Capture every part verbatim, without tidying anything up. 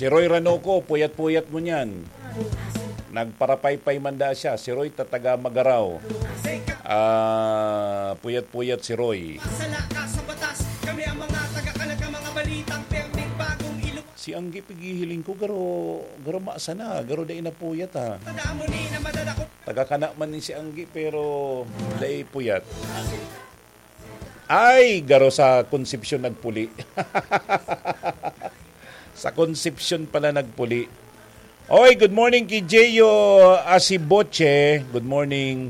Si Roy Ranoco, puyat-puyat ngunyan. Nagparapaypay man daa siya. Si Roy ta taga Magaraw. Ah, puyat-puyat si Roy. Sala ka sa batas. Kami ang mga taga-kalag, ang mga balitang permit, bagong ilog. Si Anggi, pighihiling ko, garo, garo maasa na, garo dai na puyat, ha. Tandaan mo, ni na madadakot. Taga-kana man ni si Anggi, pero dai puyat. Ay, garo sa Concepcion nagpuli. Sa Concepcion pala nagpuli. Oy, good morning ki Jeyo Asiboche. Good morning.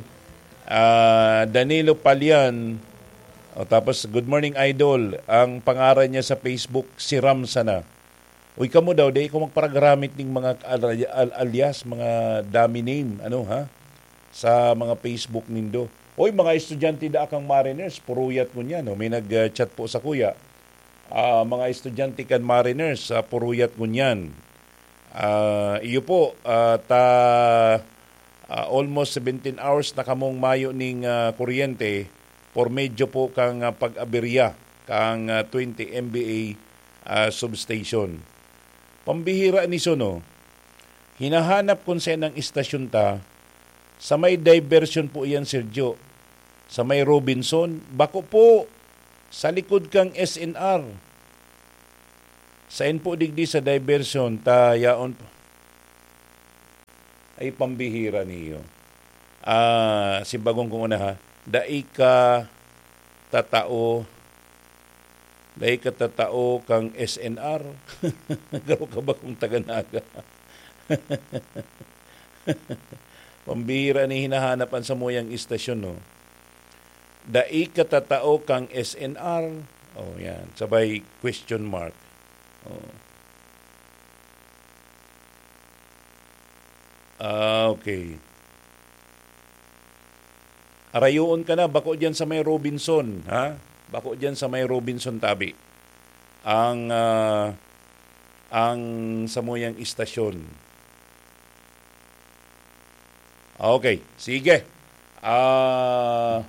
Ah, Danilo Palian. O, tapos, good morning, idol. Ang pangaran niya sa Facebook, si Ram sana. Uy, kamo daw, di ko magparagaramit ning mga al-, al-, alias, mga dummy name, ano, ha? Sa mga Facebook nindo. Oy, mga estudyante da kang Mariners, puruyat ngunyan, no? May nag-chat po sa kuya. Ah, mga estudyante kan Mariners, sa puruyat ngunyan. Ah, iyo po, ah, ta, ah, almost seventeen hours na kamong mayo ning, ah, kuryente por medyo po kang, ah, pag-aberya kang, ah, twenty M V A, ah, substation. Pambihira ni Suno. Hinahanap kung saan ang istasyon ta. Sa may diversion po iyan, Sergio. Sa may Robinson. Bako po. Sa likod kang S N R. Sain po digdi sa diversion, ta yaon po. Ay, pambihira niyo. Ah, si bagong kong una, ha. Dai ka tatao, dai ka tatao kang S N R. Garo ka ba kung taga Naga? Pambihira ni hinahanap ang samuyang istasyon, no? Dai ka tatao kang S N R. Oh, yan. Sabay question mark. Oh. Ah, okay. Arayoon ka na, bako diyan sa may Robinson, ha? Bako diyan sa may Robinson tabi. Ang, ah, ang samuyang istasyon. Okay, sige. Ah,